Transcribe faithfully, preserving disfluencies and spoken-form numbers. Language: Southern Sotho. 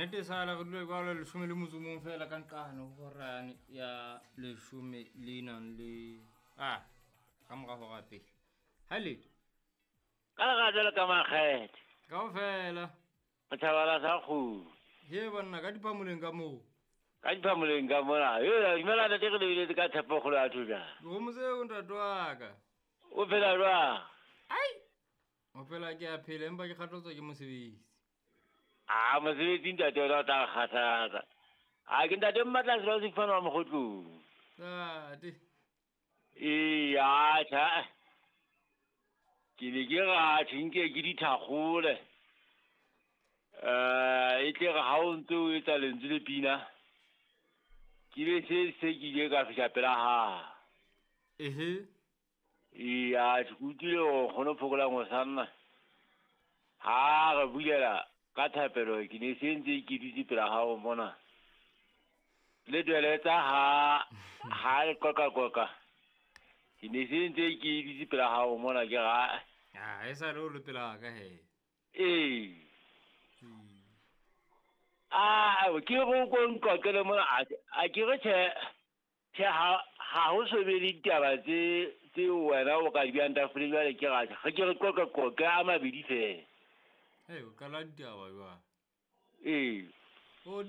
Nnete sala re dule jwalo leshome le motso o mong fela ka nqane ho hora ya leshome le nang le ah ka mora hora pele. Ha letho. Ka lerato le ka makgethe. Kaofela. Mothabala sa kgomo. He banna ka diphamoleng ka moo. Ka diphamoleng ka mona. Yo dumela ntate re lebeletse ka tshepo kgolo ya thoja. Dikgomo tseo ntate wa ka. O phela jwang? Ai. O phela ke a phela empa ke kgathatswa ke mosebetsi. Ah, mosebetsi ntate o tla kgathatsa. A ke ntate mmatla selo se fana wa mokgotlong. Ntate. Ee, atjha. Ke ne ke re atjhe nke ke dithakgole. Eh, e tle re ha o ntse o etsa lentswe le pina. Ke be se se ke ile ka fihla pela ha. Ehe. Ee, atjhe ke utlwile hore nkgono Phokolang o sanna. Ha re bulela ka thapelo ke ne se ntse ke dutse pela hao mona. Le dweletsa ha ha le qoqa qoqa. Ke ne se ntse ke dutse pela hao mona ke ra. Ah, e sa le o le pela ka he. Ee. Ah, ke go ko nqoqele mona a ke re tjhe tjhe ha ha ho so be le ditaba tse tse wena o ka di beyang tafoleng jwale ke ra ge ke re qoqa qoqa a mabedi fela. Hey, o qala ditaba jwang? Ee.